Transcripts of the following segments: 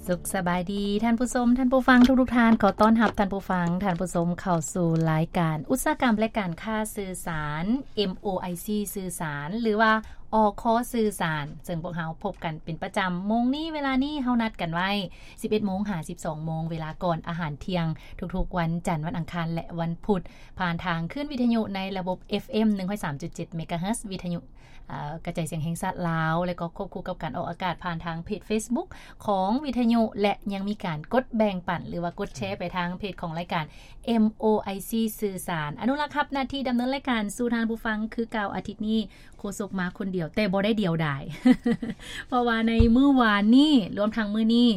ສຸກສະບາຍດີທ່ານຜູ້ຊົມ, ທ່ານຜູ້ຟັງທຸກໆທ່ານ. ຂໍຕ້ອນຮັບທ່ານຜູ້ຟັງ, ທ່ານຜູ້ຊົມເຂົ້າສູ່ລາຍການອຸດສາຫະກຳ ແລະ ການຄ້າສື່ສານ ເອັມ ໂອ ໄອ ຊີ ສື່ສານ ຫຼືວ່າ ອຄ ສື່ສານ, ເຊິ່ງພວກເຮົາພົບກັນເປັນປະຈຳ. ໂມງນີ້ ເວລານີ້ ເຮົານັດກັນໄວ້ ສິບເອັດໂມງຫາ ສິບສອງໂມງ ເວລາກ່ອນອາຫານທ່ຽງ ທຸກໆວັນຈັນ, ວັນອັງຄານ ແລະ ວັນພຸດ ຜ່ານທາງຄື້ນວິທະຍຸໃນລະບົບ ເອັຟເອັມ ໜຶ່ງຮ້ອຍສາມຈຸດເຈັດ ເມກາເຮີດ ວິທະຍຸ ເອີ ກະຈາຍສຽງແຫ່ງຊາດລາວ ແລະ ກໍຄວບຄູ່ກັບການອອກອາກາດຜ່ານທາງເພຈເຟສບຸກຂອງວິທະຍຸ ແລະ ຍັງມີການກົດແບ່ງປັນ ຫຼືວ່າກົດແຊໄປທາງເພຈຂອງລາຍການ ເອັມ ໂອ ໄອ ຊີ ສື່ສານ. ອະນຸລັກຮັບໜ້າທີ່ດຳເນີນລາຍການສູ່ທ່ານຜູ້ຟັງຄືເກົ່າ. ອາທິດນີ້ໂຄສົກມາຄົນດຽວ ແຕ່ບໍ່ໄດ້ດຽວດາຍ ເພາະວ່າໃນມື້ວານນີ້ ລວມທັງມື້ນີ້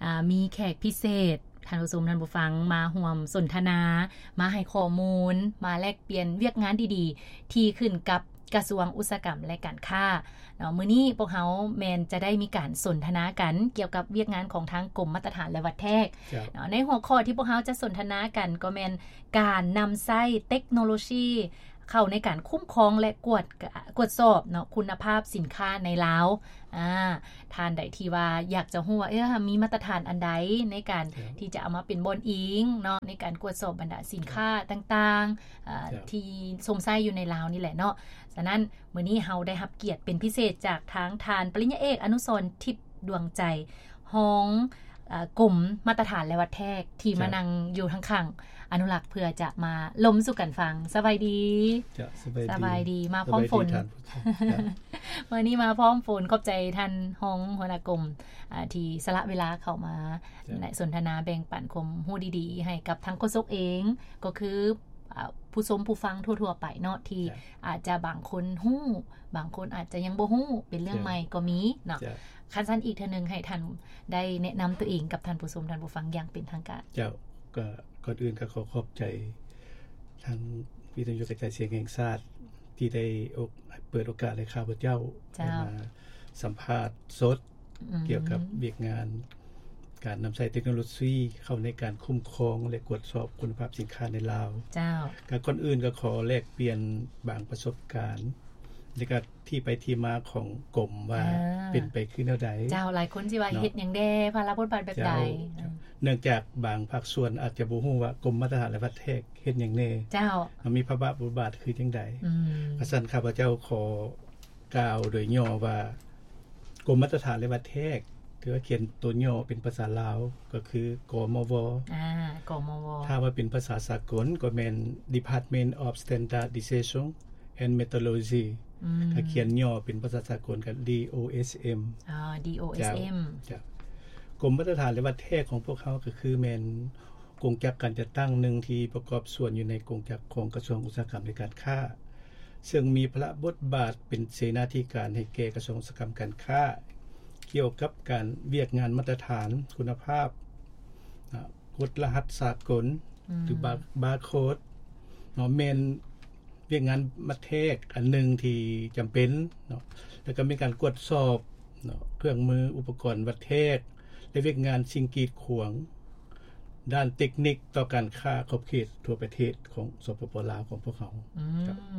ອາ ມີແຂກພິເສດ ທ່ານຜູ້ຊົມ ທ່ານຜູ້ຟັງ ມາຮ່ວມສົນທະນາ, ມາໃຫ້ຂໍ້ມູນ, ມາແລກປ່ຽນວຽກງານດີໆ ທີ່ຂຶ້ນກັບກະຊວງອຸດສາຫະກຳ ແລະ ການຄ້າເນາະ. ມື້ນີ້ພວກເຮົາແມ່ນຈະໄດ້ມີການສົນທະນາກັນກ່ຽວກັບວຽກງານຂອງທາງກົມມາດຕະຖານ ແລະ ວັດແທກເນາະ. ໃນຫົວຂໍ້ທີ່ພວກເຮົາຈະສົນທະນາກັນກໍແມ່ນການນຳໃຊ້ເຕັກໂນໂລຊີ ເຂົ້າໃນການຄຸ້ມຄອງ ແລະ ກວດກະ ກວດສອບເນາະ ຄຸນນະພາບສິນຄ້າໃນລາວ. ອາ ທ່ານໃດທີ່ວ່າຢາກຈະຮູ້ວ່າ ເອີ ມີມາດຕະຖານອັນໃດໃນການທີ່ຈະເອົາມາເປັນບ່ອນອີງເນາະ ໃນການກວດສອບບັນດາສິນຄ້າຕ່າງໆ ເອີ ທີ່ຊົມໃຊ້ຢູ່ໃນລາວນີ້ແຫຼະເນາະ. ສະນັ້ນ ມື້ນີ້ເຮົາໄດ້ຮັບກຽດເປັນພິເສດຈາກທາງທ່ານປະລິນຍາເອກ ອະນຸສອນ ທິບດວງໃຈ ຮອງ ເອີ ກົມມາດຕະຖານ ແລະ ວັດແທກ ທີ່ມານັ່ງຢູ່ທາງຂ້າງອະນຸລັກ ເພື່ອຈະມາລົມສູ່ກັນຟັງ. ສະບາຍດີ. ສະບາຍດີ. ມາພ້ອມຝົນ. ມື້ນີ້ມາພ້ອມຝົນ. ຂອບໃຈທ່ານຮອງຫົວໜ້າກົມ ອາ ທີ່ສະຫຼະເວລາເຂົ້າມາ ແລະ ສົນທະນາແບ່ງປັນຄວາມຮູ້ດີໆ ໃຫ້ກັບທາງໂຄສົກເອງ ກໍຄື ອາ ຜູ້ຊົມຜູ້ຟັງທົ່ວໆໄປເນາະ ທີ່ອາດຈະບາງຄົນຮູ້ ບາງຄົນອາດຈະຍັງບໍ່ຮູ້ ເປັນເລື່ອງໃໝ່ກໍມີເນາະ. ຄັນຊັ້ນອີກເທື່ອໜຶ່ງ ໃຫ້ທ່ານໄດ້ແນະນຳຕົວເອງກັບທ່ານຜູ້ຊົມທ່ານຜູ້ຟັງຢ່າງເປັນທາງການ. ເຈົ້າ ກໍກ່ອນອື່ນກໍຂໍຂອບໃຈທາງວິທະຍຸກະຈາຍສຽງແຫ່ງຊາດ ທີ່ໄດ້ເປີດໂອກາດໃຫ້ຂ້າພະເຈົ້າໄດ້ມາສຳພາດສົດ ກ່ຽວກັບວຽກງານການນຳໃຊ້ເຕັກໂນໂລຊີເຂົ້າໃນການຄຸ້ມຄອງ ແລະ ກວດສອບຄຸນນະພາບສິນຄ້າໃນລາວ. ເຈົ້າ ກໍກ່ອນອື່ນກໍຂໍແລກປ່ຽນບາງປະສົບການ ແລະ ກໍທີ່ໄປທີ່ມາຂອງກົມວ່າເປັນໄປຄືແນວໃດ. ເຈົ້າ ຫຼາຍຄົນຊິວ່າເຮັດຫຍັງແດ່ ພາລະບົດບາດແບບໃດ. ເນື່ອງຈາກບາງພາກສ່ວນອາດຈະບໍ່ຮູ້ວ່າກົມມາດຕະຖານ ແລະ ວັດແທກເຮັດຫຍັງແດ່. ເຈົ້າ ມັນມີພາລະບົດບາດຄືຈັ່ງໃດ. ອືມ ຄັນຊັ້ນຂ້າພະເຈົ້າຂໍ ກ່າວໂດຍຫຍໍ້ວ່າ ກົມມາດຕະຖານ ແລະ ວັດແທກ ຖືວ່າຂຽນຕົວຫຍໍ້ເປັນພາສາລາວ ກໍຄື ກມວ. ອາ ກມວ. ຖ້າວ່າເປັນພາສາສາກົນກໍແມ່ນ Department of Standardization and Metrology ອືມ ຖ້າຂຽນຫຍໍ້ເປັນພາສາສາກົນກໍ ດີ ໂອ ເອສ ເອັມ. ອາ ດີ ໂອ ເອສ ເອັມ. ເຈົ້າ ເຈົ້າ. ກົມມາດຕະຖານ ແລະ ວັດແທກຂອງພວກເຮົາກໍຄືແມ່ນ ກົງຈັກການຈັດຕັ້ງໜຶ່ງທີ່ປະກອບສ່ວນຢູ່ໃນກົງຈັກຂອງກະຊວງອຸດສາຫະກຳ ແລະ ການຄ້າ ເຊິ່ງມີພາລະບົດບາດເປັນເສນາທິການໃຫ້ແກ່ກະຊວງອຸດສາຫະກຳການຄ້າ ກ່ຽວກັບການວຽກງານມາດຕະຖານຄຸນນະພາບ ອາ ກົດລະຫັດສາກົນ ອືມ ຫຼື ບາ ບາໂຄດເນາະ ແມ່ນ ວຽກງານວັດແທກອັນໜຶ່ງທີ່ຈຳເປັນເນາະ ແລ້ວກໍມີການກວດສອບເນາະ ເຄື່ອງມືອຸປະກອນວັດແທກ ແລະ ວຽກງານສິ່ງກີດຂວາງດ້ານເຕັກນິກຕໍ່ການຄ້າຂອບເຂດທົ່ວປະເທດຂອງ ສປປ ລາວ ຂອງພວກເຮົາ. ອື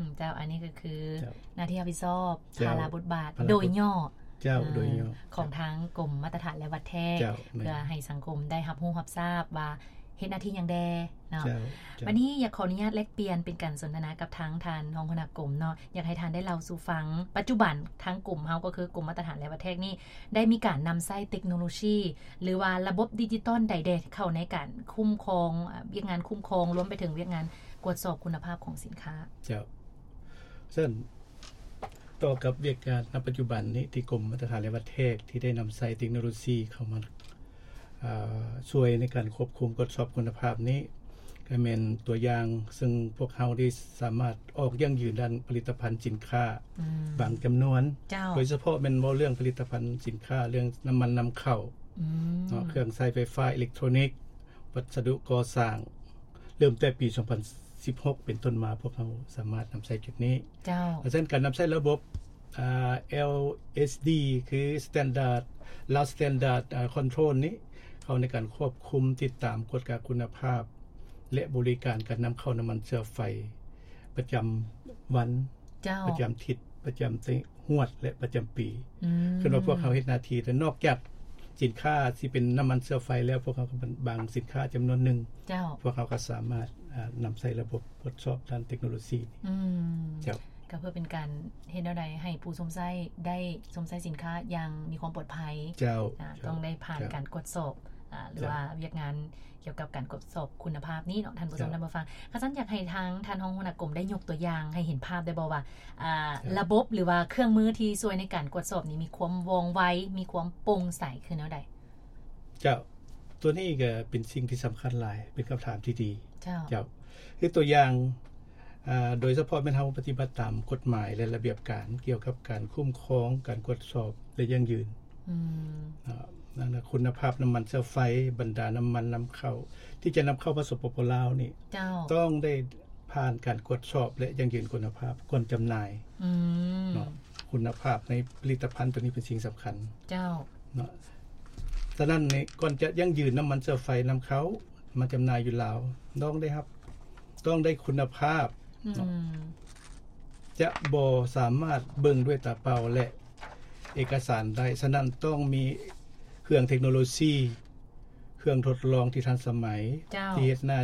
ມ ເຈົ້າ ອັນນີ້ກໍຄື ເຈົ້າ ໜ້າທີ່ຮັບຜິດຊອບ ເຈົ້າ ພາລະບົດບາດ ພາລະບົດ ໂດຍຫຍໍ້ ເຈົ້າ ອາ ໂດຍຫຍໍ້ ຂອງທາງກົມມາດຕະຖານ ແລະ ວັດແທກ ເຈົ້າ ເພື່ອໃຫ້ສັງຄົມໄດ້ຮັບຮູ້ຮັບຊາບວ່າ ເຮັດໜ້າທີ່ຫຍັງແດ່ເນາະ. ເຈົ້າ ເຈົ້າ. ບັດນີ້ຢາກຂໍອະນຸຍາດແລກປ່ຽນເປັນການສົນທະນາກັບທາງທ່ານຮອງຫົວໜ້າກົມເນາະ, ຢາກໃຫ້ທ່ານໄດ້ເລົ່າສູ່ຟັງ ປັດຈຸບັນທາງກົມເຮົາ ກໍຄືກົມມາດຕະຖານ ແລະ ວັດແທກນີ້ ໄດ້ມີການນຳໃຊ້ເຕັກໂນໂລຊີ ຫຼືວ່າລະບົບດິຈິຕອນໃດແດ່ ເຂົ້າໃນການຄຸ້ມຄອງ ອາ ວຽກງານຄຸ້ມຄອງ ລວມໄປເຖິງວຽກງານກວດສອບຄຸນນະພາບຂອງສິນຄ້າ? ເຈົ້າ ເຊິ່ງ ຕໍ່ກັບວຽກງານນະປັດຈຸບັນນີ້ ທີ່ກົມມາດຕະຖານ ແລະ ວັດແທກ ທີ່ໄດ້ນຳໃຊ້ເຕັກໂນໂລຊີເຂົ້າມາ ອາ ຊ່ວຍໃນການຄວບຄຸມກວດສອບຄຸນນະພາບນີ້ ກໍແມ່ນຕົວຢ່າງ ເຊິ່ງພວກເຮົາໄດ້ສາມາດອອກຢັ້ງຢືນດ້ານຜະລິດຕະພັນສິນຄ້າ ອືມ ບາງຈຳນວນ ເຈົ້າ ໂດຍສະເພາະແມ່ນເວົ້າເລື່ອງຜະລິດຕະພັນສິນຄ້າ ເລື່ອງນ້ຳມັນນຳເຂົ້າ ອືມ ເນາະ ເຄື່ອງໃຊ້ໄຟຟ້າ ເອເລັກໂທຣນິກ ວັດສະດຸກໍ່ສ້າງ ເລີ່ມແຕ່ປີສອງພັນສິບຫົກເປັນຕົ້ນມາ ພວກເຮົາສາມາດນຳໃຊ້ຈຸດນີ້. ເຈົ້າ. ເພາະສະນັ້ນ ການນຳໃຊ້ລະບົບ ອາ ແອລເອສດີ ຄື Standard Lao Standard ອາ Control ນີ້ ເຂົ້າໃນການຄວບຄຸມ, ຕິດຕາມ, ກວດກາຄຸນນະພາບ ແລະ ບໍລິການການນຳເຂົ້ານ້ຳມັນເຊື້ອໄຟປະຈຳວັນ. ເຈົ້າ. ປະຈຳທິດ, ປະຈຳໄຕຮວດ ແລະ ປະຈຳປີ. ອືມ. ຄືວ່າພວກເຮົາເຮັດໜ້າທີ່ ແລະ ນອກຈາກ ສິນຄ້າທີ່ເປັນນ້ຳມັນເຊື້ອໄຟແລ້ວ ພວກເຮົາກໍບາງສິນຄ້າຈຳນວນໜຶ່ງ ເຈົ້າ ພວກເຮົາກໍສາມາດ ອ່າ ນຳໃຊ້ລະບົບກວດສອບດ້ານເຕັກໂນໂລຊີນີ້ ອືມ ເຈົ້າ ກໍເພື່ອເປັນການເຮັດແນວໃດໃຫ້ຜູ້ຊົມໃຊ້ໄດ້ຊົມໃຊ້ສິນຄ້າຢ່າງມີຄວາມປອດໄພ ເຈົ້າ ອ່າ ເຈົ້າ ຕ້ອງໄດ້ຜ່ານ ເຈົ້າ ການກວດສອບ ອ່າ ຫຼື ເຈົ້າ ວ່າວຽກງານກ່ຽວກັບການກວດສອບຄຸນນະພາບນີ້ເນາະ ທ່ານຜູ້ຊົມ ເຈົ້າ ທ່ານຜູ້ຟັງ. ຄັນຊັ້ນຢາກໃຫ້ທາງທ່ານຮອງຫົວໜ້າກົມໄດ້ຍົກຕົວຢ່າງໃຫ້ເຫັນພາບໄດ້ບໍ່ວ່າ ອ່າ ເຈົ້າ ລະບົບ ຫຼື ວ່າເຄື່ອງມືທີ່ຊ່ວຍໃນການກວດສອບນີ້ມີຄວາມວ່ອງໄວ ມີຄວາມໂປ່ງໃສຄືແນວໃດ? ເຈົ້າ ຕົວນີ້ກໍເປັນສິ່ງທີ່ສຳຄັນຫຼາຍ ເປັນຄຳຖາມທີ່ດີ ເຈົ້າ ເຈົ້າ ຄືຕົວຢ່າງ ອ່າ ໂດຍສະເພາະແມ່ນເຮົາປະຕິບັດຕາມກົດໝາຍ ແລະ ລະບຽບການກ່ຽວກັບການຄຸ້ມຄອງ ການກວດສອບ ແລະ ຢັ້ງຢືນ ອືມ ເນາະ ນັ້ນນະ ຄຸນນະພາບນ້ຳມັນເຊື້ອໄຟ ບັນດານ້ຳມັນນຳເຂົ້າ ທີ່ຈະນຳເຂົ້າມາ ສປປ ລາວນີ້ ເຈົ້າ ຕ້ອງໄດ້ຜ່ານການກວດສອບ ແລະ ຢັ້ງຢືນຄຸນນະພາບກ່ອນຈຳໜ່າຍ ອືມ ເນາະ ຄຸນນະພາບໃນຜະລິດຕະພັນຕົວນີ້ເປັນສິ່ງສຳຄັນ ເຈົ້າ ເນາະ ສະນັ້ນນີ້ ກ່ອນຈະຢັ້ງຢືນນ້ຳມັນເຊື້ອໄຟນຳເຂົ້າມາຈຳໜ່າຍຢູ່ລາວ ຕ້ອງໄດ້ຮັບ ຕ້ອງໄດ້ຄຸນນະພາບ ອືມ ເນາະ ຈະບໍ່ສາມາດເບິ່ງດ້ວຍຕາເປົ່າ ແລະ ເອກະສານໄດ້ ສະນັ້ນຕ້ອງມີເຄື່ອງເຕັກໂນໂລຊີ ເຄື່ອງທົດລອງທີ່ທັນສະໄໝ ເຈົ້າ ທີ່ເຮັດໜ້າ